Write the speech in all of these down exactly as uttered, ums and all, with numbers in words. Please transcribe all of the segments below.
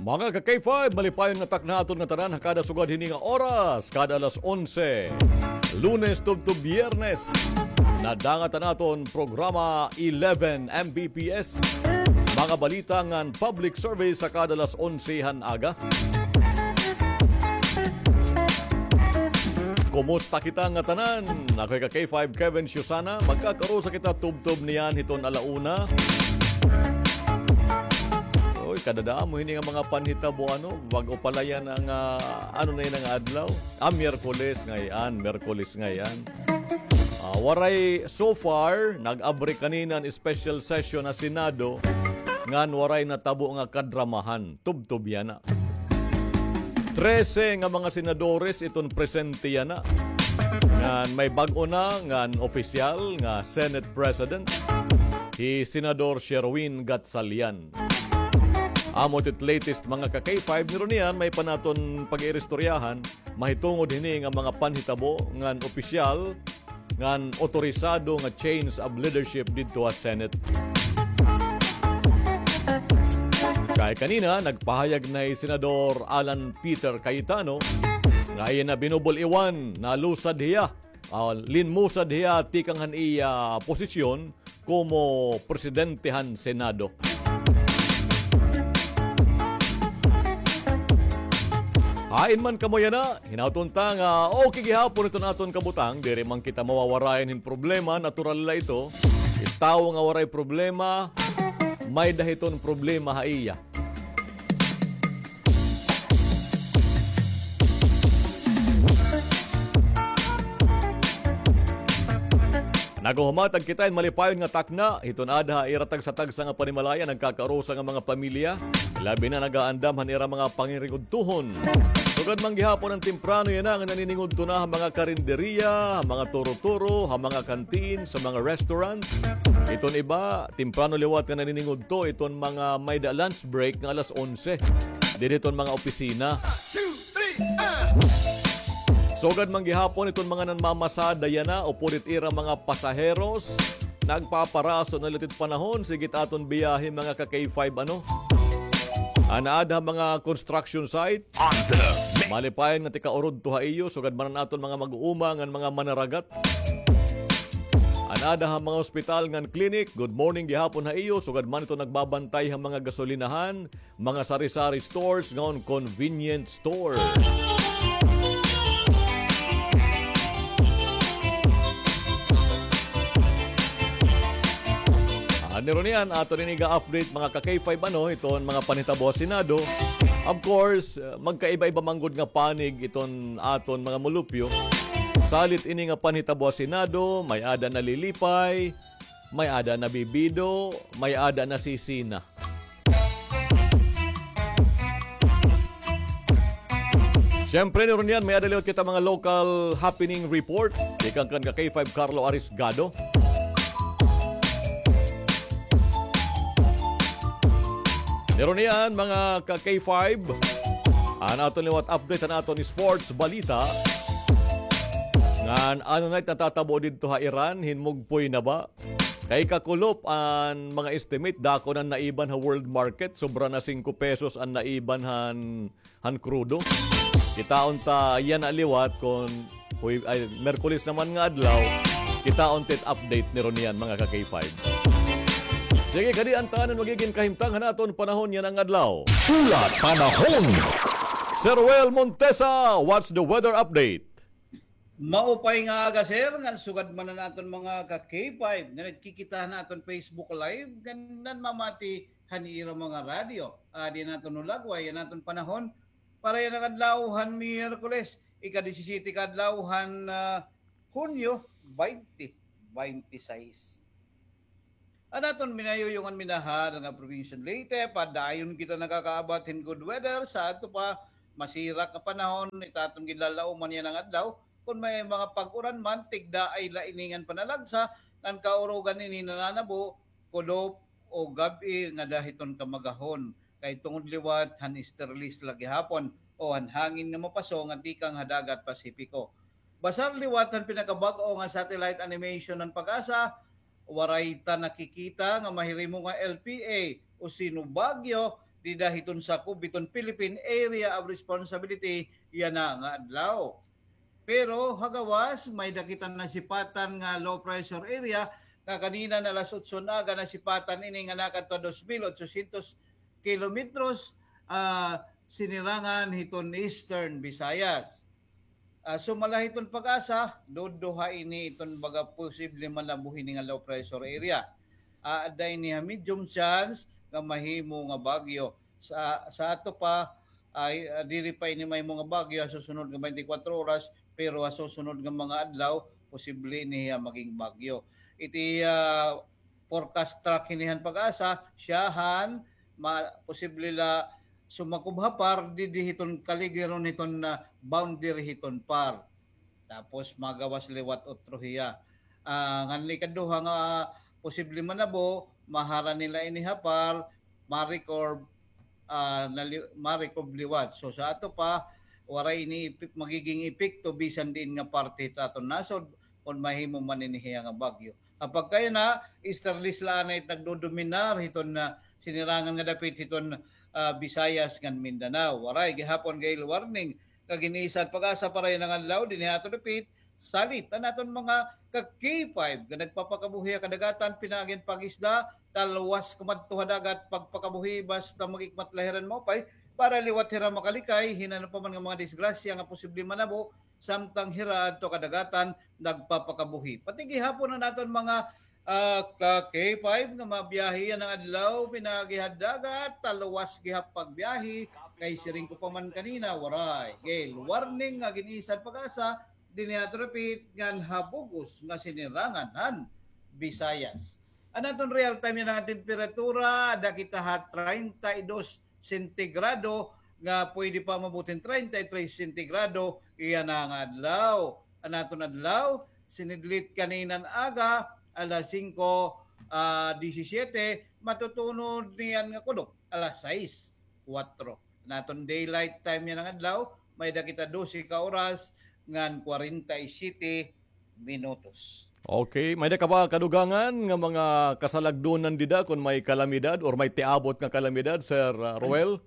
Mga ka-K five, malipayon nga takna aton ngatanan ha kada sugad hini nga oras, kada alas onse, Lunes tubtob Biyernes. Nadangat an aton programa eleven M B P S. Mga balita ngan public service ha kada alas onse han aga. Kumusta kita ngatanan? Ako hi ka-K five Kevin Siusana. Magkakarusa kita tubtob niyan hiton ala una. Oy, kadadamo hini nga mga panhitabo, ano, bag-o pa la yana nga, ano na yana nga adlaw? Ah, Miyerkules ngay-an, Miyerkules ngay-an. Ah, waray, so far, nag-abri kanina an special session ha Senado, ngan waray natabo nga kadramahan. Tubtob yana. Trese nga mga senadores iton presente yana. Ngan may bag-o na ngan opisyal nga Senate President, hi Senador Sherwin Gatchalian. Amo it latest, mga ka-K five, niro niyan may pa naton pag-iiristoryahan, mahitungod hini nga mga panhitabo ngan opisyal ngan otorisado nga change of leadership didto ha Senate. Kay kanina, nagpahayag na hi Senador Alan Peter Cayetano nga iya na binubul-iwan, nalusad hiya, ah, linmusad hiya tikang han iya posisyon komo presidente han Senado. Hain man kamo yana, hinaot unta nga okay gihapon iton aton kabutang, diri man kita mawawarayan hin problema, natural la ito. It tawo nga waray problema, may-ada hiton problema ha iya. Naghuhumatag kita hin malipayon nga takna hiton aada ha ira tagsa-tagsa nga panimalaya, nagkakaurusa nga mga pamilya, labi na nagaandam han ira mga panginigudtohon. Sugad man gihapon an temprano yana nga naniningudto na ha mga karinderiya, ha mga turo-turo, ha mga kantin, sa mga restaurant. Iton iba, temprano liwat nga naniningudto iton mga may-ada lunch break nga alas onse didi hiton mga opisina. Sugad man gihapon iton mga nanmamasada yana upod it ira mga pasaheros, nagpaparaso na liwat it panahon, sige it aton biyahe, mga ka-K five, ano. An aada ha mga construction site, malipayon nga tika-urudto ha iyo, sugad man an aton mga mag-uuma ngan mga manaragat. An aada ha mga ospital ngan clinic, good morning gihapon ha iyo, sugad man ito nagbabantay ha mga gasolinahan, mga sari-sari stores, ngan convenience store. Ah, niro niyan, aton ini ga-update, mga ka-K five, ano, iton mga panhitabo ha Senado. Of course, uh, magkaiba-iba man gud nga panig iton aton mga mulupyo. Salit ini nga panhitabo ha Senado, may-ada nalilipay, may-ada nabibido, may-ada nasisina. Siyempre, niro niyan, may-ada liwat kita mga local happening report tikang kan ka-K five Carlo Arisgado. Niro niyan, mga ka-K five, an aton liwat update han aton sports balita. Ngan ano na it natatabo didto ha Iran, hinmugpoy na ba? Kay kakulop an mga estimate, dako na an naiban ha world market, sobra na singko pesos an naiban han, han krudo. Kitaon ta yana liwat kon huy-, ay, Merkulis naman nga adlaw, kitaon ta it update niro niyan, mga ka-K five. Sige, kadi an tanan magigin kahimtang han aton panahon yana nga adlaw. Hulat panahon. Sir Well Montesa, what's the weather update? Maupay nga aga, sir, ngan sugad man an aton mga ka-K five nga nagkikita han aton Facebook Live ngan nanmamati han ira mga radyo. Adi an aton hulagway, an aton panahon para yana nga adlaw han Miyerkules, ika-disisyete ka adlaw han, ah, Hunyo, baynte baynte sais. An aton minayuyongan, minahal nga Probinsya han Leyte, padayon kita nakakaabat hin good weather, sa adto pa, masirak nga panahon it aton ginlalauman yana nga adlaw. Kon may mga pag-uran man, tigdaay la ini ngan panalagsa, ngan kaurugan ini nananabo, kulop o gab-i ngada hiton kamagahon, kay tungod liwat han easterlies la gihapon o han hangin nga mapaso nga tikang ha dagat Pasipiko. Basar liwat han pinakabag-o nga satellite animation han PAGASA, waray ta nakikita nga mahirimo nga L P A o Sino Baguio dida hiton sakob hiton Philippine Area of Responsibility yana nga adlaw. Pero ha gawas, may-ada kita nasipatan nga low pressure area nga kanina nga alas otso nga aga nasipatan ini nga nakadto ha dos mil otsosyentos kilometros, ah, sinirangan hiton Eastern Visayas. Ah, sumala hiton PAGASA, duduha ini iton baga posible manabo hini nga low pressure area. Ah, aada ini ha medium chance nga mahimo nga bagyo. Sa, sa ato pa, ay, ah, diri pa ini mahimo nga bagyo ha susunod nga twenty-four oras, pero ha susunod nga mga adlaw, posible ini hiya maging bagyo. Iti, ah, forecast track hini han PAGASA, siyahan, ma-, posible la sumakob ha PAR, didi hiton kaligiron hiton, ah, boundary hiton PAR. Tapos magawas liwat utro hiya. Ah, ngan ikaduha nga posible manabo, maharani la ini ha PAR, ma-recurve, ah, nali-, ma-recurve liwat. So sa ato pa, waray ini epe-, magiging epekto bisan diin nga parte hit aton nasod kon mahimo man ini hiya nga bagyo. Ha pagkayana, easterlies la anay it nagdodominar hiton, ah, sinirangan nga dapit hiton, ah, Visayas ngan Mindanao. Waray gihapon gale warning nga gin-isa han PAGASA para yana nga adlaw dinhi ha aton dapit, salit an aton mga ka-K five nga nagpapakabuhi ha kadagatan pinaagi han pangisda, talwas kumadto ha dagat pagpakabuhi, basta mag-ikmat la hira hin maupay para liwat hira makalikay hin ano pa man nga mga disgrasya nga posible manabo samtang hira adto kadagatan nagpapakabuhi. Pati gihapon an aton mga, ah, ka-K five nga mabiyahe yana nga adlaw pinaagi ha dagat, talwas gihap pagbiyahe, kay siring ko pa man kanina, waray gale warning nga gin-isa han PAGASA dinhi ha aton dapit ngan ha bug-os nga sinirangan han Visayas. An aton real time yana nga temperatura, aada kita ha treinta y dos sentigrado, nga pwede pa maabot hin treinta y tres sentigrado yana nga adlaw. An aton adlaw, sinidlit kanina nga aga, alas singko, ah, disisyete, matutunod niyan nga kudok, alas sais, kuwatro. An aton daylight time yana nga adlaw, may-ada kita dose ka oras ngan kwarenta y siyete minutos. Okay, may-ada ka ba kadugangan nga mga kasalagdonan dida kon may kalamidad or may tiabot nga kalamidad, Sir, ah, Roel?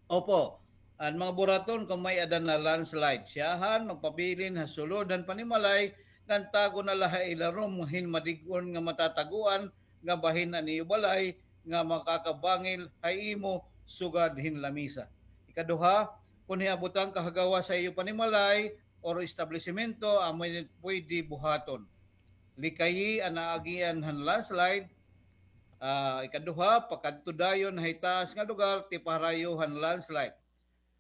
Opo. An mga buraton kon may-ada na landslide, siyahan magpabilin ha sulod han panimalay ngan tago na la ha ilarom hin madig-on nga matatagoan nga bahin an iyo balay nga makakabangil ha imo sugad hin lamisa. Ikaduha, kon hiabutan ka ha gawas ha iyo panimalay or establisemento, amo ini pwede buhaton. Likayi an aagian han landslide. Ah, ikaduha, pakadto dayon ha itaas nga lugar tipaharayo han landslide.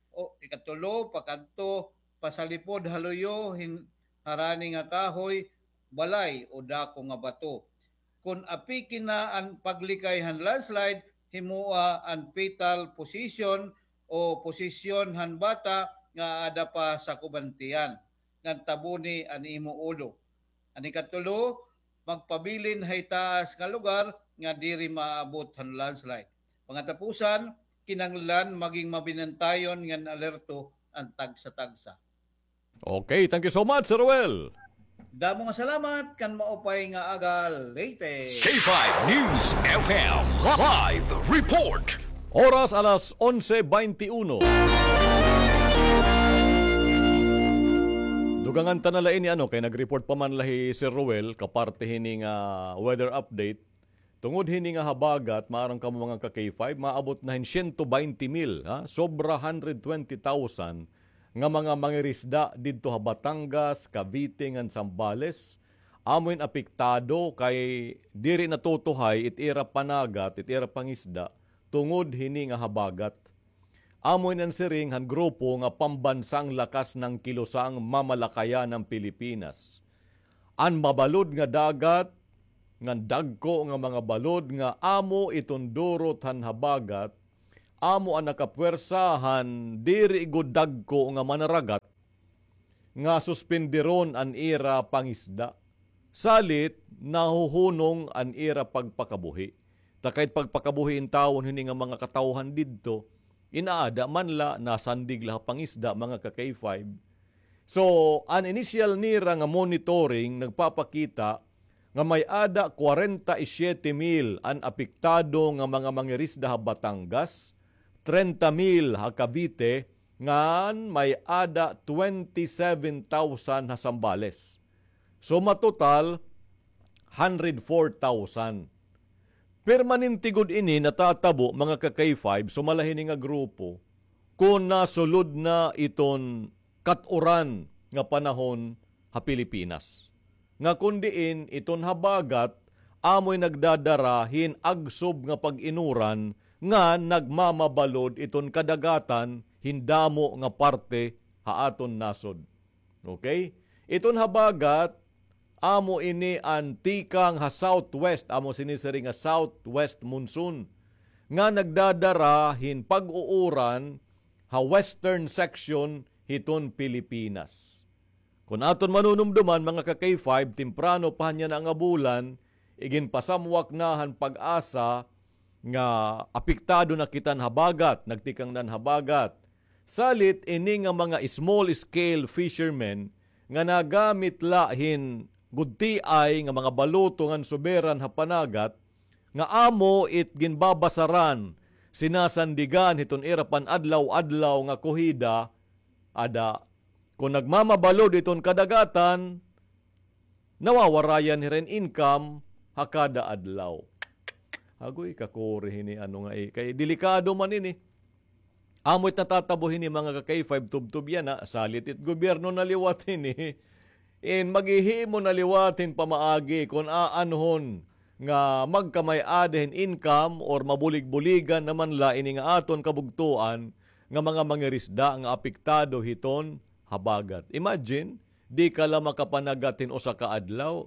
O, ikatulo, pakadto pasalipod ha luyo hin harani nga kahoy, balay o dako nga bato. Kon apiki na an paglikay han landslide, himoa an fetal position o posisyon han bata nga aada pa sa kubantian, ngan taboni an imo ulo. An ikatulo, magpabilin ha itaas nga lugar nga diri maabot han landslide. Pangatapusan, kinahanglan maging mabinantayon ngan alerto an tagsa-tagsa. Okay, thank you so much, Sir Roel. Damo nga salamat, kan maupay nga aga, Leyte. K five News F M live report. Oras alas onse baynte uno. Dugangan ta na la ini, ano, kay nag-report pa man la hi Sir Roel, kaparte hini nga weather update. Tungod hini nga habagat, maaram kamo mga ka-K five, maabot na hin siyento baynte mil, ha? Sobra hundred twenty thousand nga mga mangirisda didto ha Batangas, Cavite, ngan Zambales. Amo in apektado kay diri natutuhay it ira panagat, it ira pangisda, tungod hini nga habagat. Amo ini an siring han grupo nga Pambansang Lakas ng Kilusang Mamalakayan ng Pilipinas. An mabalod nga dagat, ngan dagko nga mga balod nga amo iton durot han habagat, amo an nakapwersa han diri gud dagko nga manaragat, nga suspenderon an ira pangisda. Salit, nahuhunong an ira pagpakabuhi. Ta kay pagpakabuhi intawon hini nga mga katawhan didto, inaada man la, nasandig la ha pangisda, mga ka-K five. So, an initial nira nga monitoring nagpapakita nga may-ada kwarenta y siyete mil an apektado nga mga mangirisda ha Batangas, trenta mil ha Cavite, ngan may-ada twenty-seven thousand ha Zambales. So, matotal, hundred four thousand. Permanente gud ini natatabo, mga ka-K five, sumala hini nga grupo, kon nasulod na iton kat-uran nga panahon ha Pilipinas. Nga kon diin iton habagat amoy nagdadara hin agsob nga pag-inuran nga nagmamabalod iton kadagatan hin damo nga parte ha aton nasod. Okay? Iton habagat, amo ini an tikang ha southwest, amo sinisiring nga southwest monsoon, nga nagdadara hin pag-uuran ha western section hiton Pilipinas. Kon aton manunumduman, mga ka-K five, temprano pa han yana nga bulan, iginpasamwak na han PAGASA nga apektado na kita han habagat, nagtikang na han habagat. Salit ini nga mga small scale fishermen nga nagamit la hin gutiay nga mga baluto ngan suberan ha panagat, nga amo it ginbabasaran, sinasandigan hiton ira pan-adlaw-adlaw nga kuhida, ada, kon nagmamabalod iton kadagatan, nawawarayan hira hin income ha kada adlaw. Agoy, kakuri hini ano nga, eh, kay delikado man ini. Amo it natatabo hini, mga ka-K five, tubtob yana, salit it gobyerno na liwat hini. In maghihimo na liwat hin pamaagi kon aanhon nga magkamay-ada hin income or mabulig-buligan naman la ini nga aton kabugtoan nga mga mangirisda nga apektado hiton habagat. Imagine, di ka la makapanagat hin usa ka adlaw,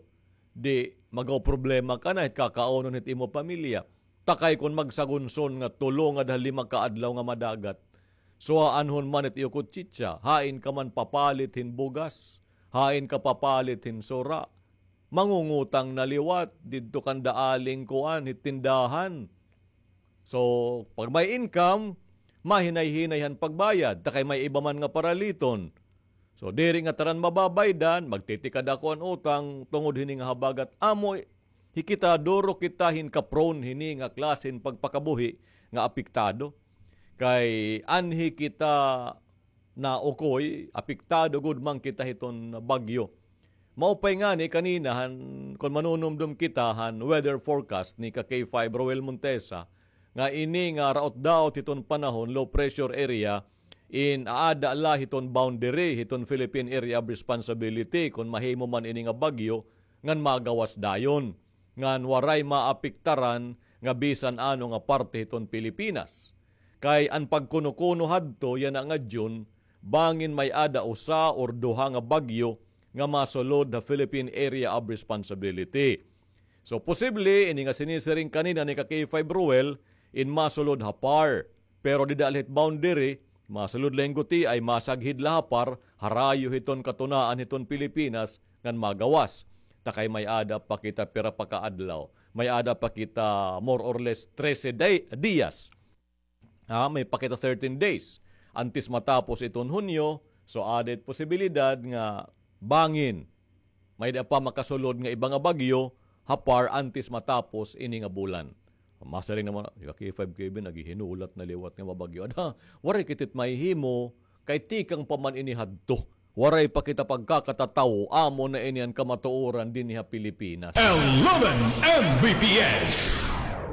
di magaproblema ka na hit kakaunon hit imo pamilya. Ta kay kon magsagunson nga tulo nga da lima ka adlaw nga madagat. So, aanhon man it iyo kutsitsa, hain ka man papalit hin bugas, hain ka papalit hin sura. Mangungutang na liwat didto kanda aling kuan, hit tindahan. So, pag may income, mahinay-hinay han pagbayad, ta kay may iba man nga paraliton. So, diri ngatanan mababaydan, magtitikada ako an utang tungod hini nga habagat. Amo, hi kita, duro kita hin ka-prone hini nga klase hin pagpakabuhi nga apektado. Kay anhi kita naukoy, apektado gud man kita hiton bagyo. Maupay ngani kanina han, kon manunumdom kita han weather forecast ni ka-K five Roel Montesa, nga ini nga raot-daot hiton panahon, low pressure area, in aada la hiton boundary hiton Philippine Area of Responsibility, kon mahimo man ini nga bagyo, ngan magawas dayon, ngan waray maapektaran nga bisan ano nga parte hiton Pilipinas. Kay an pagkuno-kuno hadto yana nga June, bangin may-ada usa or duha nga bagyo nga masulod ha Philippine Area of Responsibility. So, posible, ini nga sinisiring kanina ni ka-K five Roel, in masulod ha PAR. Pero dida la hit boundary, masulod la hin gutiay, masaghid la ha PAR, harayo hiton katunaan hiton Pilipinas, ngan magawas. Ta kay may-ada pa kita pira pa ka adlaw. May-ada pa kita more or less trese day, diyas. Ah, may pa kita thirteen days. Antes matapos iton Hunyo, so ada it posibilidad nga bangin may-ada pa makasulod nga iba nga bagyo ha PAR antes matapos ini nga bulan. Masiring naman, ka-K five Kevin, naghihinulat na liwat nga mabagyo. Ada, waray kita it mahihimo, kay tikang pa man ini hadto. Waray pa kita pagkakatatawo, amo na ini an kamatuoran dinhi ha Pilipinas. Eleven M B P S.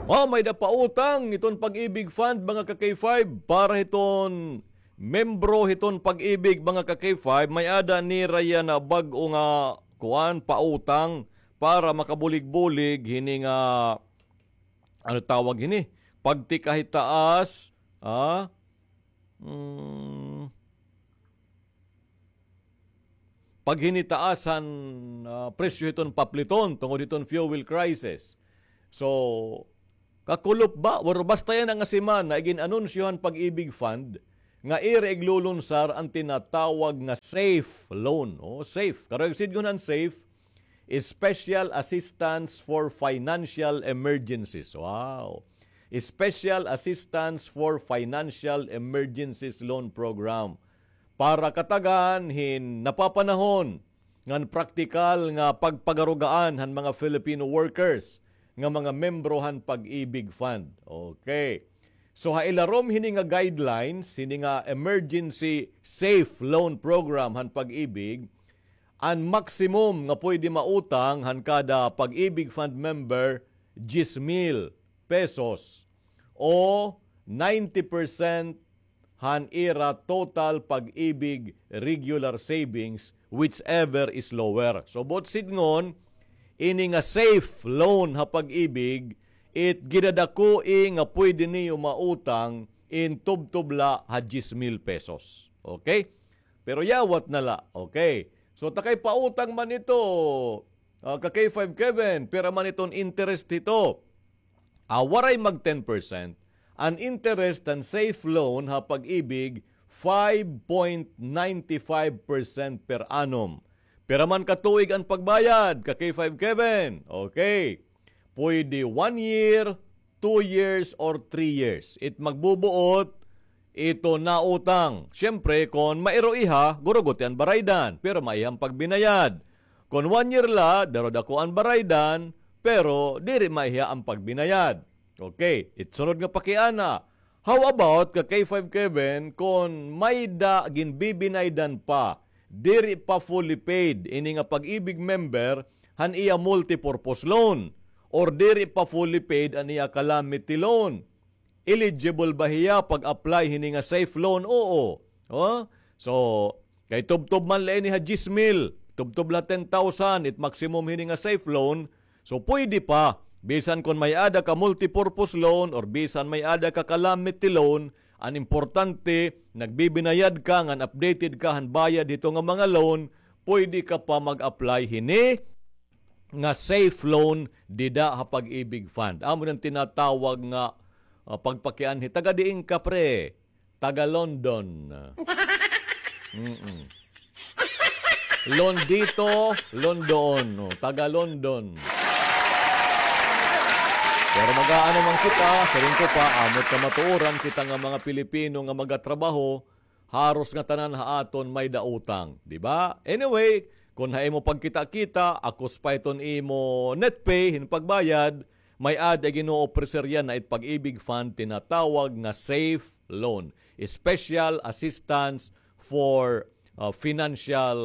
Mao, may-ada pa utang iton Pag-ibig Fund, mga ka-K five, para hiton membro hiton Pag-ibig, mga ka-K five, may-ada nira yana bag-o nga kuan, pautang para makabulig-bulig hini nga, ano tawag hini? Pagtikahitaas, ah? Hmm. Paghinitaas han, ah, presyo hiton papliton tungod hiton fuel crisis. So, kakulop ba? Pero basta yana nga semana, igin-anunsyo han Pag-ibig Fund nga ira iglulunsar an tinatawag nga SAFE loan. Oh, SAFE. Karuyag sidngon han SAFE, Special Assistance for Financial Emergencies. Wow. Special Assistance for Financial Emergencies Loan Program. Para katagan hin napapanahon ngan praktikal nga pagpagarugaan han mga Filipino workers nga mga membro han Pag-ibig Fund. Okay. So, ha ilarom hini nga guidelines, hini nga Emergency Safe Loan Program han Pag-ibig, an maximum nga pwede mautang han kada Pag-ibig Fund member, diyes mil pesos o ninety percent han ira total Pag-ibig regular savings, whichever is lower. So, buot sidngon, ini nga safe loan ha Pag-ibig, it gidadakoi nga pwede niyo mautang in tubtob la ha diyes mil pesos. Okay? Pero yawat na la. Okay. So, takay pautang man ito, ah, ka K five Kevin, pira man iton interest hito? Ah, waray mag ten percent. An interest han safe loan ha Pag-ibig, five point nine five percent per annum. Pira man ka tuig an pagbayad, ka K five Kevin? Okay. Pwede one year, two years, or three years. It magbubuot ito nautang. Siyempre, kon mairo iha, guruguti an baraydan, pero maiha an pagbinayad. Kon one year la, daro dako an baraydan, pero diri maiha an pagbinayad. Okay, it sunod nga pakiana. How about ka K five Kevin, kon may-ada ginbibinaydan pa, diri pa fully paid ini nga Pag-ibig member han iya multipurpose loan, or diri pa fully paid an iya calamity loan? Eligible ba hiya pag-apply hini nga safe loan? Oo. Oh? So, kay tubtob man la ini ha diyes mil, tubtob la ten thousand, it maximum hini nga safe loan. So, pwede pa. Bisan kon may-ada ka multipurpose loan or bisan may-ada ka calamity loan, an importante, nagbibinayad ka ngan updated ka han bayad hito nga mga loan, pwede ka pa mag-apply hini nga safe loan dida ha Pag-ibig Fund. Amo nan tinatawag nga, ah, pagpakianhi. Taga diin ka, pre? Taga London. Mm-mm. Londito, London. Oh, taga London. Pero mag-aano man kita, siring ko pa, amo it kamatuoran kita nga mga Pilipino nga magatrabaho, haros ngatanan ha aton may-ada utang, di ba? Anyway, kon ha imo pagkita-kita, akos pa iton imo net pay hin pagbayad, may-ada gin-o-offer yana it Pag-ibig Fund, tinatawag nga safe loan, special assistance for, uh, financial,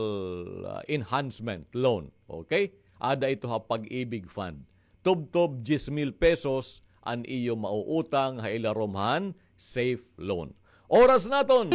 uh, enhancement loan. Okay? Ada ito ha Pag-ibig Fund. Tubtob diyes mil pesos an iyo mauutang ha ilarom han safe loan. Oras naton,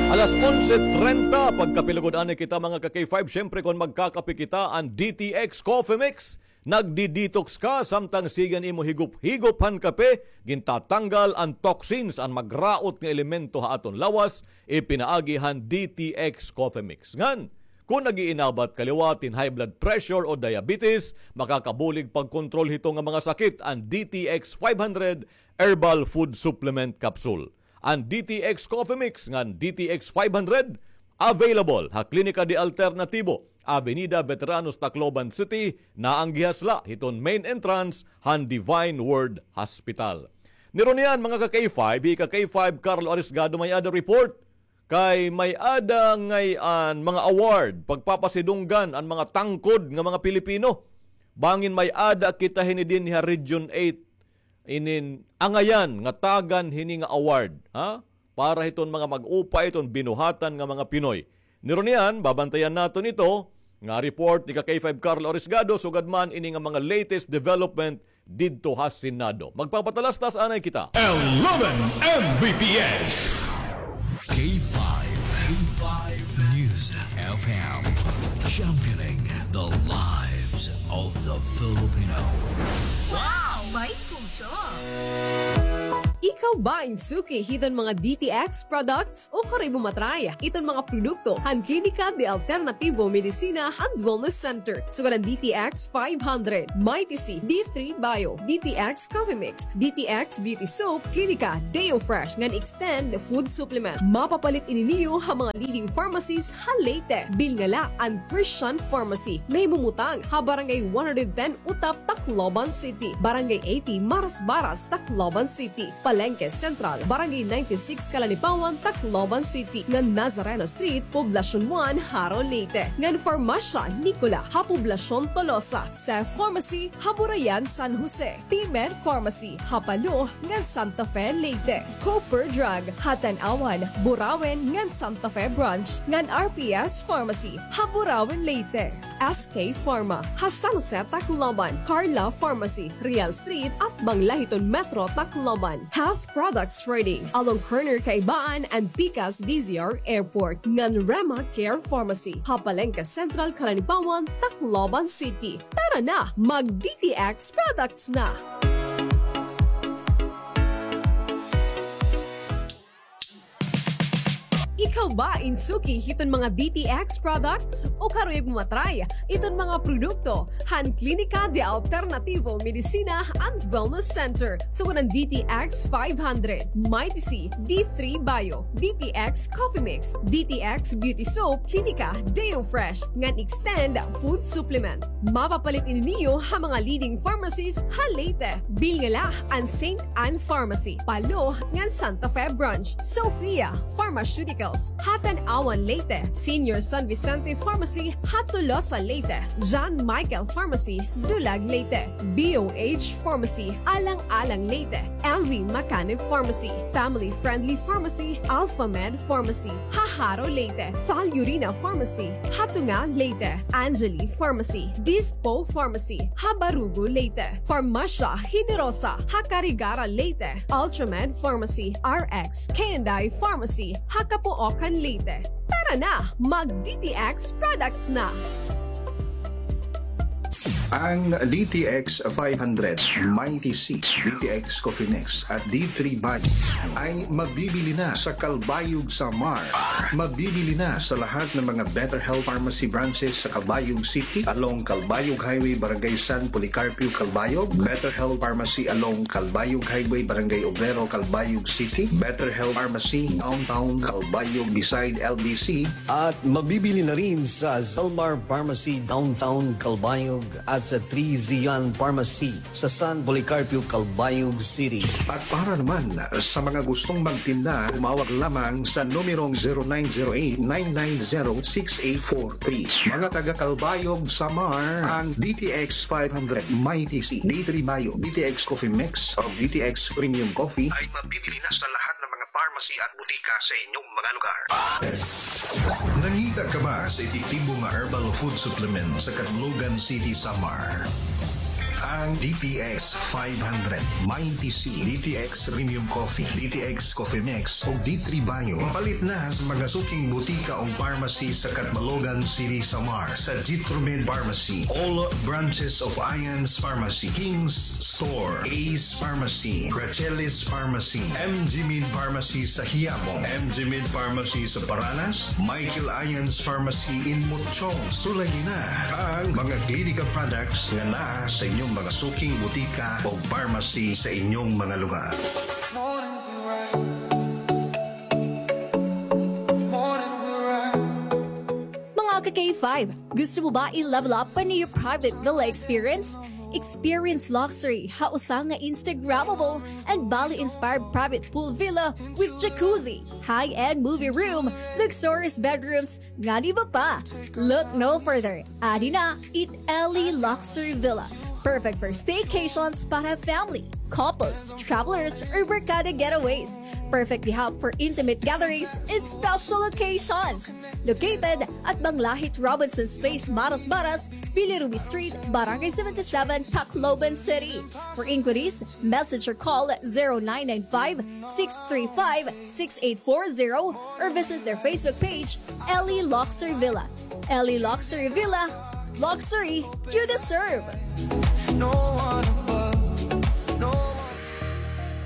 alas onse trenta. Pagkapilugod anay kita, mga ka-K five. Siyempre, kon magkakape kita, an D T X Coffee Mix. Nagdi-detox ka, samtang sige an imo higop-higop han kape, gintatanggal an toxins, an magraot nga elemento ha aton lawas, ipinaagi han D T X Coffee Mix. Ngan, kon nag-iinabat ka liwat hin high blood pressure o diabetes, makakabulig pagkontrol hito nga mga sakit an D T X five hundred Herbal Food Supplement Capsule. An D T X Coffee Mix ngan D T X five hundred, available ha Klinika de Alternativo, Avenida Veteranos, Tacloban City, naanggihas la hiton main entrance han Divine Word Hospital. Nirunian, mga ka-K five, hi ka-K five Carlo Arisgado may-ada report. Kay may-ada ngay-an mga award, pagpapasidunggan an mga tangkod nga mga Pilipino. Bangin may-ada kita hini dinhi ha Region eight, inin angayan nga tagan hini nga award, ha? Para hiton mga mag-upay, hiton binuhatan nga mga Pinoy. Nirunian, babantayan naton ito, nga report ni ka-K five Carlo Arisgado, sugad man ini nga mga latest development didto ha Senado. Magpapatalastas anay kita. Eleven M B P S. K five, K five News F M, championing the lives of the Filipino. Wow! May puso! Ikaw ba in suki hiton mga D T X products? Ukon imo matry iton mga produkto han Klinika de Alternativo Medicina and Wellness Center. Sugad an D T X five hundred, Mighty C, D three Bio, D T X Coffee Mix, D T X Beauty Soap, Klinika Deo Fresh ngan Extend Food Supplement. Mapapalit ini niyo ha mga leading pharmacies ha Leyte. Bilnga la an Christian Pharmacy. Nahimumutang ha Barangay one hundred ten Utap, Tacloban City. Barangay eighty Marasbaras, Tacloban City. Palengke Central, Barangay ninety-six, Calanipawan, Tacloban City, ngan Nazareno Street, Poblacion one, Jaro, Leyte, ngan Farmacia Nicola ha Poblacion Tolosa, Seth Pharmacy ha Burayan, San Jose, P-Med Pharmacy ha Palo ngan Santa Fe, Leyte, Cooper Drug ha Tanauan, Burauen ngan Santa Fe Branch, ngan R P S Pharmacy ha Burauen, Leyte. S K Pharma ha San Jose, Tacloban, Carla Pharmacy, Real Street, atbang la hiton Metro Tacloban. Health Products Trading, along corner Kaibaan and Pikas D Z R Airport, ngan Rema Care Pharmacy ha Palengke Central, Calanipawan, Tacloban City. Tara na, mag D T X products na! Ikaw ba in suki hiton mga D T X products? O karuyag mo ma-try iton mga produkto han Klinika de Alternativo Medicina and Wellness Center? Sugad han D T X five hundred, Mighty C, D three Bio, D T X Coffee Mix, D T X Beauty Soap, Klinika Deo Fresh, ngan Extend Food Supplement. Mapapalit ini niyo ha mga leading pharmacies ha Leyte. Bilin la an Saint Ann Pharmacy, Palo, ngan Santa Fe Branch, Sophia Pharmaceuticals ha Tanauan, Leyte, Senior San Vicente Pharmacy ha Tolosa, Leyte, John Michael Pharmacy, Dulag, Leyte, B O H Pharmacy, Alang-alang, Leyte, M V Macanib Pharmacy, Family Friendly Pharmacy, Alpha Med Pharmacy ha Jaro, Leyte, Falurina Pharmacy ha Tunga, Leyte, Angeli Pharmacy, Dispo Pharmacy ha Barugo, Leyte, Farmacia Generosa ha Carigara, Leyte, Ultramed Pharmacy, R X K and I Pharmacy ha Capoocan, Leyte. Tara na, mag D T X products na! Ang D T X five hundred, Mighty C, D T X Coffee Mix at D three Bio ay mabibili na sa Calbayog, Samar. Mabibili na sa lahat ng mga Better Health Pharmacy branches sa Calbayog City, along Calbayog Highway, Barangay San Policarpio, Calbayog, Better Health Pharmacy along Calbayog Highway, Barangay Obrero, Calbayog City, Better Health Pharmacy Downtown Calbayog beside L B C, at mabibili na rin sa Zalmar Pharmacy Downtown Calbayog at sa Three Zion Pharmacy sa San Policarpio, Calbayog City. At para naman sa mga gustong magtinda, tumawag lamang sa numerong zero nine zero eight nine nine zero six eight four three. Mga taga Calbayog, Samar, ang D T X five hundred, Mighty C, D three Bio, D T X Coffee Mix, o D T X Premium Coffee ay mabibili na sa lahat ng mga pharmacy at butika sa inyong mga lugar. Nangita ka ba sa epektibo nga herbal food supplement sa Catbalogan City, Samar? Ang D T X five hundred, Mighty C, D T X Premium Coffee, D T X Coffee Mix, ug D three Bio. Mapalit na sa mga suking butika o pharmacy sa Catbalogan City, Samar, sa Jitromed Pharmacy, all branches of Ian's Pharmacy, King's Store, Ace Pharmacy, Rachelis Pharmacy, M G Med Pharmacy sa Quiapo, M G Med Pharmacy sa Paranas, Michael Ian's Pharmacy in Mutchong. Sulayi na ang mga Clinica products nga naa sa inyong mga suking butika o pharmacy sa inyong mga lugar. Mga ka-K five, gusto mo ba i-level up pa an iyo private villa experience? Experience luxury ha usa nga Instagrammable and Bali-inspired private pool villa with jacuzzi, high-end movie room, luxurious bedrooms, ngan iba pa. Look no further. Adi na it Ellie Luxury Villa. Perfect for staycations para family, couples, travelers, or barkada getaways. Perfect gihap for intimate gatherings and special occasions. Located at Banglahit Robinson's Place, Marasmaras, Villa Ruby Street, Barangay seventy-seven, Tacloban City. For inquiries, message or call zero nine nine five, six three five, six eight four zero or visit their Facebook page, Ellie Luxury Villa. Ellie Luxury Villa, luxury you deserve.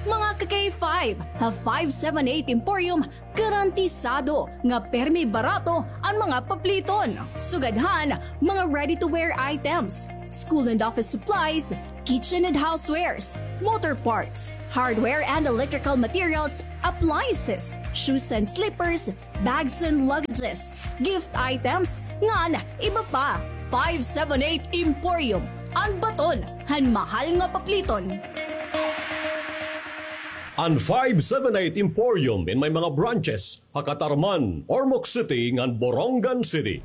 Mga ka-K five, ha five seven eight Emporium, garantisado nga permi barato an mga papliton. Sugad han mga ready-to-wear items, school and office supplies, kitchen and housewares, motor parts, hardware and electrical materials, appliances, shoes and slippers, bags and luggages, gift items, ngan iba pa. Five seven eight Emporium, an baton han mahal nga papliton. An five seven eight Emporium in may mga branches ha Catarman, Ormoc City, ngan Borongan City.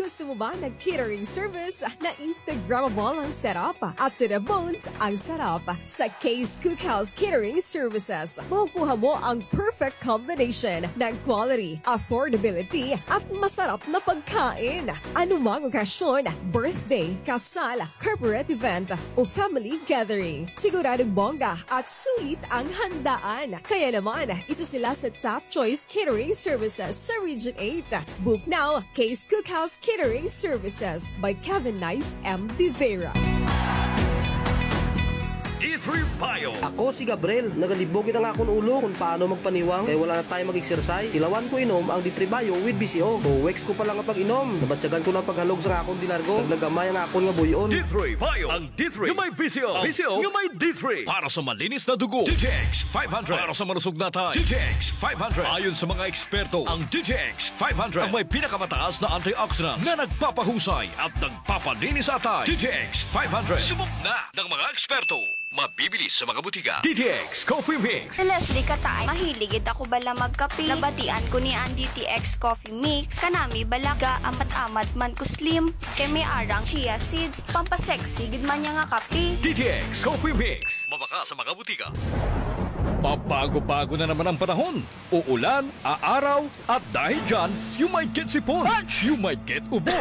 Gusto mo ba ng catering service na Instagrammable ang setup at to the bones ang sarap? Sa Kay's Cookhouse Catering Services, makukuha mo ang perfect combination ng quality, affordability, at masarap na pagkain. Anumang okasyon, birthday, kasal, corporate event, o family gathering, siguradong bongga at sulit ang handaan. Kaya naman, isa sila sa top choice catering services sa Region eight. Book now, Kay's Cookhouse Catering Services by Kevin Nice M. Vivera. D three Bio. Ako si Gabriel. Nagalibog gid an akon ulo kon paano magpaniwang kay wala na tayo mag-exercise. Tilawan ko inom ang D three Bio with V C O. Two weeks ko pa la nga pag-inom, nabatyagan ko na an paghalog sa akon dinargo. Naglagamay ang akon nga buy-on. D three Bio. Ang D three nga may V C O. V C O nga may D three. Para sa malinis na dugo, D T X five hundred. Para sa malusog na atay, D T X five hundred. Ayon sa mga eksperto, ang D T X five hundred ang may pinakamataas na antioxidants na nagpapahusay at nagpapalinis sa atay. D T X five hundred. Subok na ng mga eksperto. Mabibili sa mga butika. D T X Coffee Mix. Si Leslie Kataay, mahilig gid ako bala magkape. Nabatian ko ni an D T X Coffee Mix. Kanami bala, gaamat-amat man ko slim. Kay may arang chia seeds, pampasexy gid man niya nga kape. D T X Coffee Mix. Mabakal sa mga butika. Pabago-bago na naman ang panahon. Uulan, aaraw, at dahil dyan, you might get sipon. You might get ubo.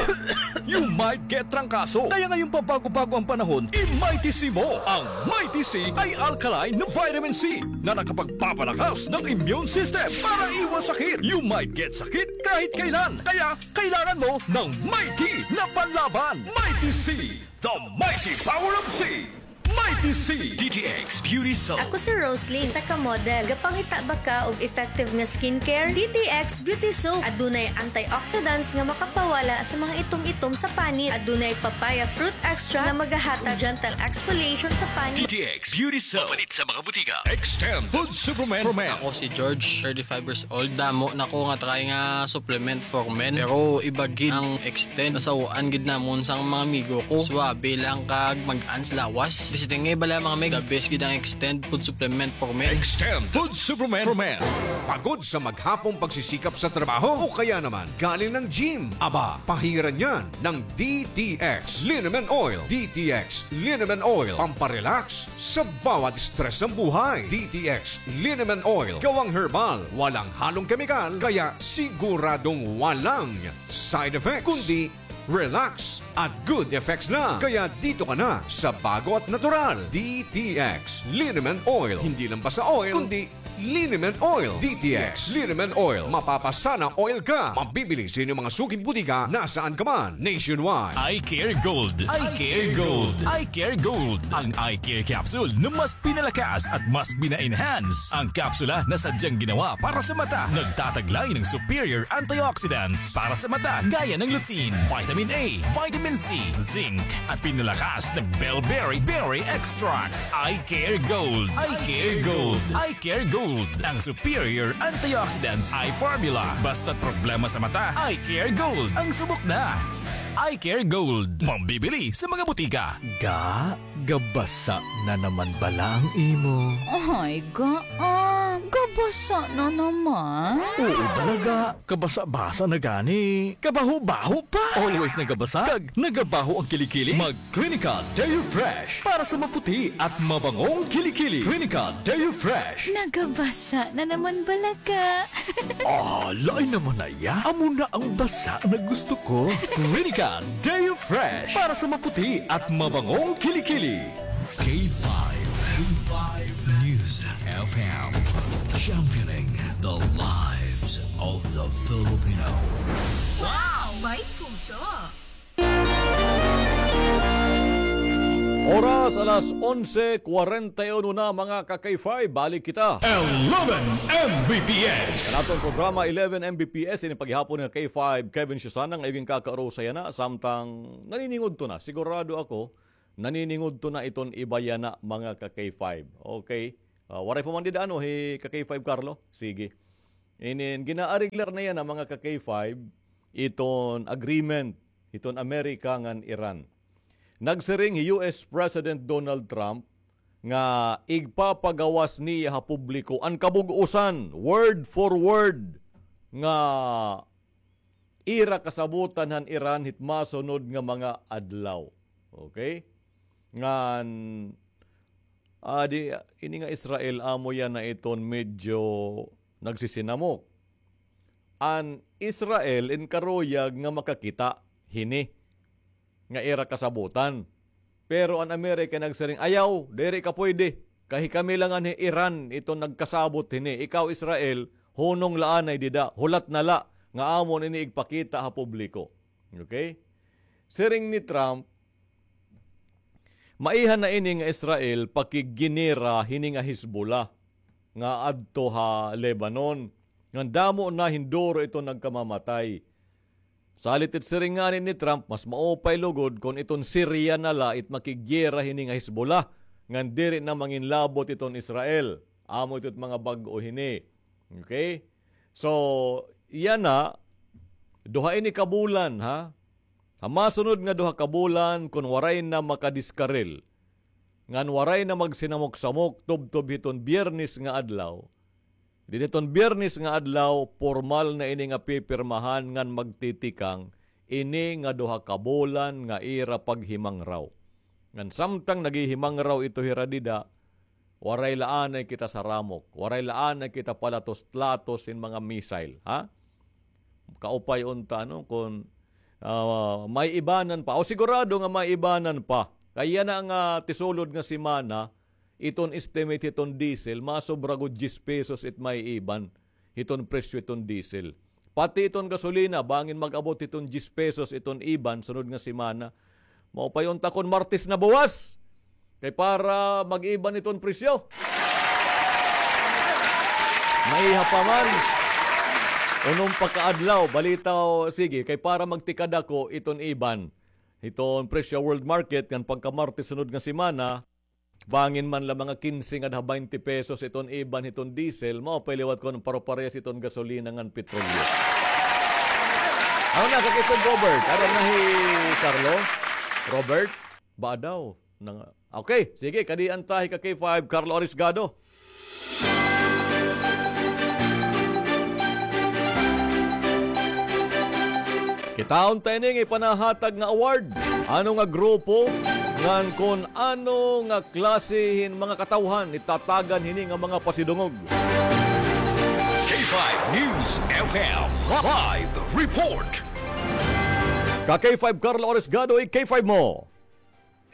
You might get trangkaso. Kaya ngayong pabago-bago ang panahon, i-Mighty C mo. Ang Mighty C ay alkaline na vitamin C na nakapagpapalakas ng immune system para iwas sakit. You might get sakit kahit kailan. Kaya kailangan mo ng Mighty na panlaban. Mighty C, the mighty power of C. Mighty C. D T X Beauty Soap. Ako si Rosalie, isa ka model. Gapangita ba ka og effective nga skincare? D T X Beauty Soap. Adunay antioxidants nga makapawala sa mga itom-itom sa panit. Adunay papaya fruit extract nga magahatag gentle exfoliation sa panit. D T X Beauty Soap. Mapalit sa mga butika. Extend Food Supplement for Men. Ako si George, thirty-five years old. Damo na ko nga try nga supplement for men. Pero iba gid ang Extend. Nasaw-an gid namon sang mga amigo ko. Suabe lang kag mag-an sa lawas. Basta nga bala, mga mig, the best gid ang Extend food supplement for men. Extend food supplement for men. Pagod sa maghapong pagsisikap sa trabaho o kaya naman galing ng gym? Aba, pahiran yan ng D T X Liniment Oil. D T X Liniment Oil, pamparelax sa bawat stress ng buhay. D T X Liniment Oil, gawang herbal, walang halong kemikal, kaya siguradong walang side effects, kundi relax at good effects na. Kaya dito ka na sa bago at natural. D T X Liniment Oil. Hindi lang basta oil, kundi Liniment Oil. D T X Liniment Oil. Mapapasana oil ka. Mabibili sa inyong mga suking butika nasaan ka man nationwide. Eye Care Gold. Eye Care Gold. Eye Care Gold. Ang Eye Care Capsule na mas pinalakas at mas pina-enhance. Ang kapsula na sadyang ginawa para sa mata, nagtataglay ng superior antioxidants para sa mata, gaya ng lutein, vitamin A, vitamin C, zinc, at pinalakas ng bellberry berry extract. Eye Care Gold. Eye Care Gold. Eye Care Gold. Ang superior antioxidants eye formula. Basta't problema sa mata, Eye Care Gold ang subok na. Eye Care Gold. Mabibili sa mga butika. Ga, gabasa na naman bala ang imo. Ay, ga, ah, gabasa na naman? Oo, bala ga. Kabasa-basa na gani. Kabaho-baho pa. Always nagabasa. Kag nagabaho ang kilikili. Mag Clinical Deo Fresh para sa maputi at mabangong kilikili. Clinical Deo Fresh. Nagabasa na naman bala ka. Ah, lain naman na iya. Amo na ang basa na gusto ko. Clinical Deo Fresh para sa maputi at mabangong kilikili. K five, K five News F M, championing the lives of the Filipino. Wow! May puso! Oras, alas onse kwarenta y uno na, mga ka-K five. Balik kita. Eleven M B P S. An aton programa, Eleven M B P S, ini paghihapon nga K five, Kevin Susan, nga igin kakarusa yana, samtang naniningudto na. Sigurado ako, naniningudto na iton iba yana, mga ka-K five. Okay. Ah, waray pa man dida, ano, hi ka-K five Carlo? Sige. Inin, ginaariglar na yana, mga ka-K five, iton agreement, iton Amerika ngan Iran. Nagsiring hi U S President Donald Trump nga igpapagawas niya ha publiko an kabug-osan, word for word, nga ira kasabotan han Iran hit masunod nga mga adlaw. Okay? Ngan, ah, di, ini nga Israel, amo yana iton medyo nagsisinamok. An Israel in karuyag nga makakita hini nga ira kasabotan. Pero an Amerika nagsiring, "Ayaw, diri ka pwede. Kay kami la ngan hi Iran iton nagkasabot hini. Ikaw, Israel, hunong la anay dida. Hulat na la nga amon ini igpakita ha publiko." Okay? Siring ni Trump, maiha na ini nga Israel pakigginera hini nga Hezbollah nga adto ha Lebanon. Ngan damo na hin duro iton nagkamamatay. Salit it siring ngani ni Trump, mas maupay lugod kon iton Syria na la it makiggiyera hini nga Hezbollah, ngan diri na manginlabot iton Israel. Amo ito it mga bag-o hini. Okay? So, yana, duha ini ka bulan, ha? Ha masunod nga duha ka bulan, kon waray na makadiskaril, ngan waray na magsinamok-samok tubtob hiton Biyernes nga adlaw, didi hiton Biyernes nga adlaw, pormal na ini nga pipirmahan ngan magtitikang ini nga duha ka bulan nga ira paghimangraw. Ngan samtang naghihimangraw ito hira dida, waray la anay kita saramok, waray la anay kita palatos-latos hin mga missile, ha? Kaupay unta, ano, kon, ah, may ibanan pa. O, sigurado nga may ibanan pa. Kay yana nga tisulod nga semana, iton estimate hiton diesel, masobra gud diyes pesos it may iban hiton presyo hiton diesel. Pati iton gasolina, bangin mag-abot hiton diyes pesos iton iban sunod nga semana. Maupay unta kon Martes na buwas. Kay para mag-iban iton presyo. Maiha pa man. Unom pa ka adlaw, balita o, sige, kay para magtikadako iton iban. Hiton presyo world market, ngan pagka Martes sunod nga semana, bangin man la mga kinse ngan ha baynte pesos iton iban hiton diesel, maupay liwat kon paro-parehas iton gasolina ngan petrolyo. Ano na, kakitog Robert? Aram na hi Carlo? Robert? Ba daw? Nang, okay, sige, kadian ta hi ka K five, Carlo Arisgado. Kitaon ta ini nga ipanahatag nga award. Ano nga grupo, ngan kon ano nga klase hin mga katawhan itatagan hini nga mga pasidungog. K five News F M live report. Ka K five Carlo Oresgado, i-K five mo.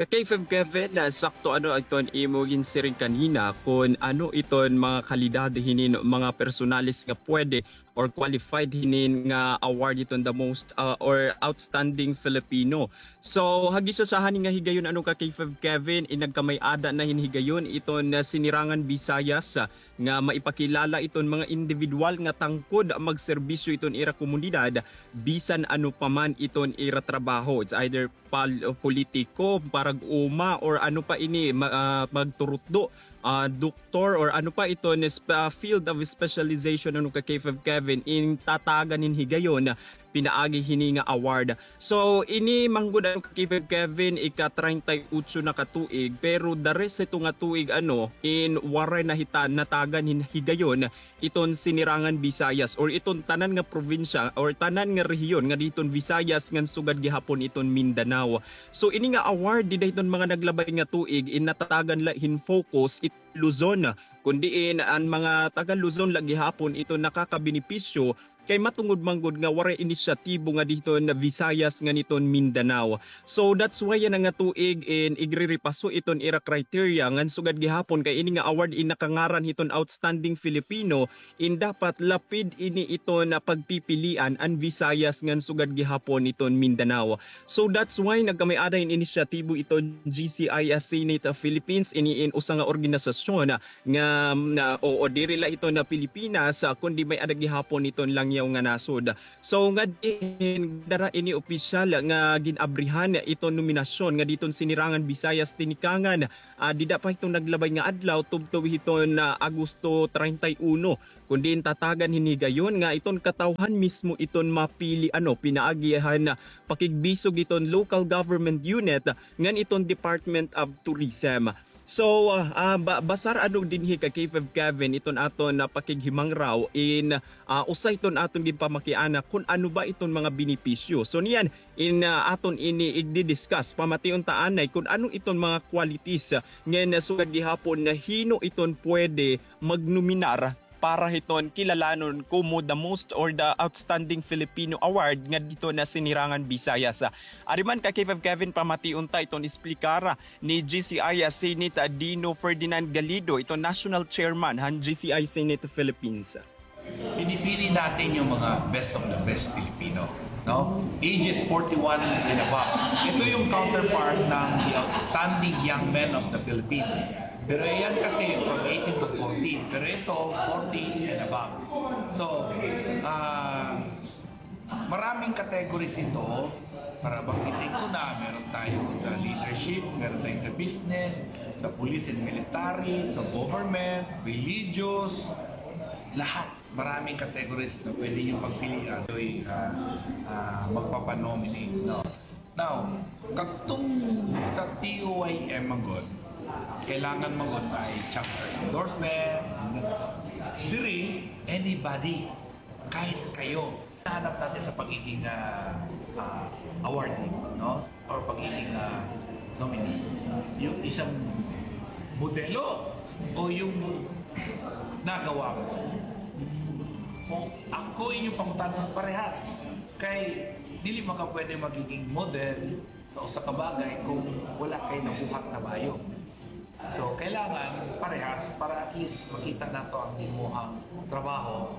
Ka K five Kevin, ah, sakto ano iton imo ginsiring kanina kon ano iton mga kalidad hinin mga personalis nga pwede or qualified hinin nga award iton the most, ah, or outstanding Filipino. So, hagis sa hani nga higayon ano ka K five Kevin, inagkamay-ada na hin higayon iton, ah, Sinirangan Visayas, ah, nga maipakilala iton mga individual nga tangkod magserbisyo iton ira komunidad bisan ano pa man iton ira trabaho. It's either pal-, politiko, parag-uma, or ano pa ini, ma-, ah, magturutdo, ah, doktor, or ano pa iton sp-, ah, field of specialization, ano ka K five Kevin, in tatagan hin higayon pinaagi hini nga award. So, ini manggod ano ka K five Kevin, ika-treinta y ocho na ka tuig, pero the rest ito nga tuig, ano, in waray na hita natagan hin higayon iton Sinirangan Visayas or iton tanan nga probinsya or tanan nga rehiyon nga diton Visayas ngan sugad gihapon iton Mindanao. So, ini nga award dida hiton mga naglabay nga tuig, in natatagan la hin focus it Luzon, kun diin an mga taga Luzon la gihapon iton nakakabenepisyo kay matungod man gud nga waray inisyatibo nga diton Visayas ngan iton Mindanao. So that's why yana nga tuig in igrerepaso iton ira criteria ngan sugad gihapon kay ini nga award in nakangaran hiton outstanding Filipino in dapat lapid ini iton pagpipilian an Visayas ngan sugad gihapon iton Mindanao. So that's why nagkamay-ada hin inisyatibo iton G C I S Senate of Philippines, ini in usa nga organisasyon nga, na, oo, diri la ito na Pilipinas, ah, kundi may-ada gihapon iton langyaw nga nasod. So, nga diin dara ini opisyal nga gin-abrihan iton nominasyon nga diton Sinirangan Visayas Tinikangan, ah, dida pa hiton naglabay nga adlaw, tubtob hiton, ah, Agosto treinta y uno. Kundi in tatagan hin higayon nga iton katawhan mismo iton mapili, ano, pinaagi han, ah, pakigbisog iton local government unit ngan iton Department of Tourism. So, ah, ah, ba-, basar ano dinhi ka K five Kevin iton aton, ah, pakighimangraw in, ah, usa iton aton ginpamakiana kun ano ba iton mga benepisyo. So, niyan in, ah, aton ini igdi-discuss. Pamation ta anay kun ano iton mga qualities, ah, ngan, ah, sugad gihapon na hin-o iton pwede magnominar para hiton kilalanon komo the most or the outstanding Filipino award ngadto ha Sinirangan Visayas. Ari man ka K five Kevin, pamation ta iton esplikar ni G C I Senate Dino Ferdinand Galido, iton national chairman han G C I Senate Philippines. Pinipili natin yung mga best of the best Filipino, no? Ages forty-one and above. Ito yung counterpart ng the outstanding young men of the Philippines. Pero yan kasi from eighteen to forty. Pero ito, forty and above. So, ah, maraming categories ito. Para banggitin ko na, meron tayo sa leadership, meron tayo sa business, sa police and military, sa government, religious, lahat. Maraming categories na pwede niyong pagpilian. Ito'y, ah, ah, magpapanominate, no? Now, kadtong sa T O Y M man gud, kailangan man gud ay chapter endorsement. Diri, anybody, kahit kayo. Hanap natin sa pagiging, ah, ah, awardee, no? Or pagiging, ah, nominee. Yung isang modelo o yung nagawa mo. Kung ako inyo pangutana, parehas. Kay dili man ka pwede magiging model sa usa ka bagay kung wala kay nabuhat na maayo. So, kailangan parehas para at least makita nato ang imuhang trabaho.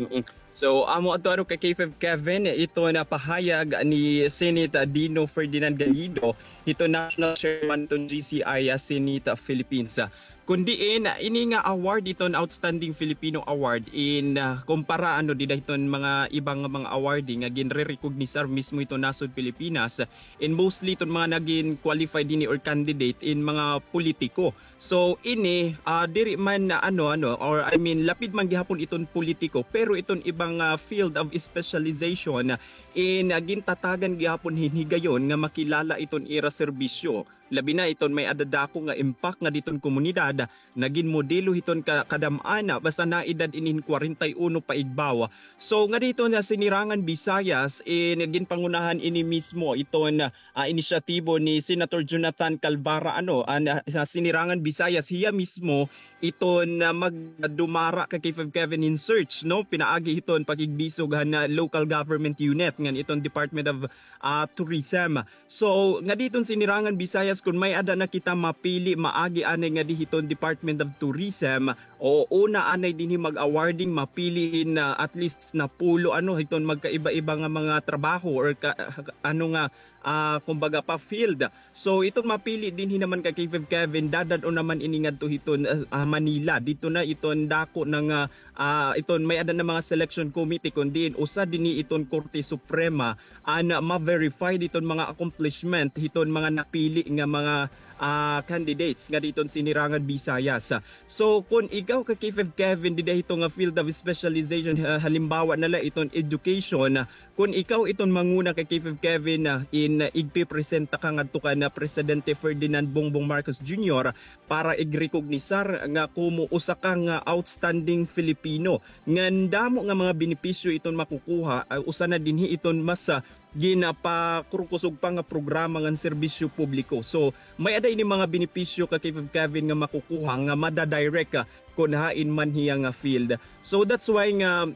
Mm-mm. So, amo adto ano ka K five Kevin, iton pahayag ni Senate Dino Ferdinand Galido, iton national chairman iton G C I, ah, Senate, ah, Philippines. Ah, kun diin, ah, ini nga award, iton Outstanding Filipino Award, in, ah, kumpara ano dida hiton mga iba nga mga awardee nga ginrerecognisar mismo hiton nasod Pilipinas, in mostly iton mga nagin qualified dinhi or candidate in mga politiko. So, ini, ah, diri man na ano, ano, or I mean, lapid man gihapon iton politiko, pero iton ibang, ah, field of specialization, in, ah, gintatagan gihapon hin higayon nga makilala iton ira serbisyo. Labi na iton may-ada dako nga impact ngadi hiton komunidad, nagin modelo hiton ka-, kadam-an, basta naedad ini hin kwarenta y uno paigbaw. So, ngadi hiton Sinirangan Visayas, in, ginpangunahan ini mismo iton, ah, inisyatibo ni Senator Jonathan Calvara, ano, an, ah, sa Sinirangan Visayas, hiya mismo iton, ah, magdumara ka K five Kevin hin search, no? Pinaagi hiton pakigbisog han, ah, local government unit ngan iton Department of, ah, Tourism. So, ngadi hiton Sinirangan Visayas, kun may-ada na kita mapili, maagi anay ngadi hiton Department of Tourism, o una anay dinhi mag-awarding, mapili hin, ah, at least napulo, ano, hiton magkaiba-iba nga mga trabaho or ka-, ano nga, ah, kumbaga pa field. So, iton mapili dinhi naman ka K five Kevin, dadad-on naman ini ngadto hiton, ah, ah, Manila. Didto na iton dako na nga, ah, iton may-ada na mga selection committee, kun diin usa dinhi iton Korte Suprema an ma-verify diton mga accomplishment hiton mga napili nga mga, ah, candidates ngadi hiton Sinirangan Visayas. So, kun ikaw ka K five Kevin, dida hito nga field of specialization, ha-, halimbawa na la iton education, kun ikaw iton manguna ka K five Kevin, ah, in, ah, igpipresenta ka ngadto kan, ah, Presidente Ferdinand Bongbong Marcos Junior para igrecognisar nga komo usa ka nga outstanding Filipino. Ngan damo nga mga benepisyo iton makukuha, ah, usa na dinhi iton mas, ah, ginapakurkusog pa nga programa ngan serbisyo publiko. So, may-ada ini mga benepisyo ka K five Kevin nga makukuha nga madadirect, ah, kun hain man hiya nga field. So, that's why nga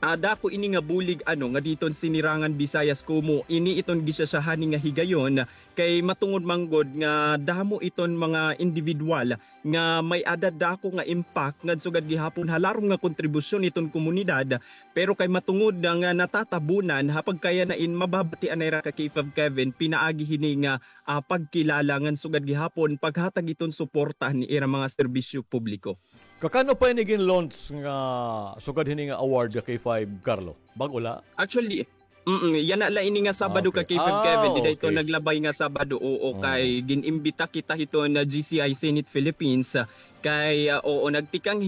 ah, dako ini nga bulig, ano, ngadi hiton Sinirangan Visayas komo ini iton gisyasyahani nga higayon, kay matungod man gud nga damo iton mga individual nga may-ada dako nga impact ngan sugad gihapon ha larom nga kontribusyon iton komunidad, pero kay matungod na nga natatabunan ha pagkayana in mababatian na ira ka K five Kevin, pinaagi hini nga, ah, pagkilala ngan sugad gihapon paghatag iton suporta ni ira mga serbisyo publiko. Kakan-o pa ini gin-launch nga sugad hini nga award ka K five, Carlo? Bag-o la? Actually, mm, yana la ini nga Sabado ka K five, Kevin. Dida ito naglabay nga Sabado, oo, kay gin-imbita kita hiton G C I Senate Philippines, ah, kay, ah, oo, nagtikang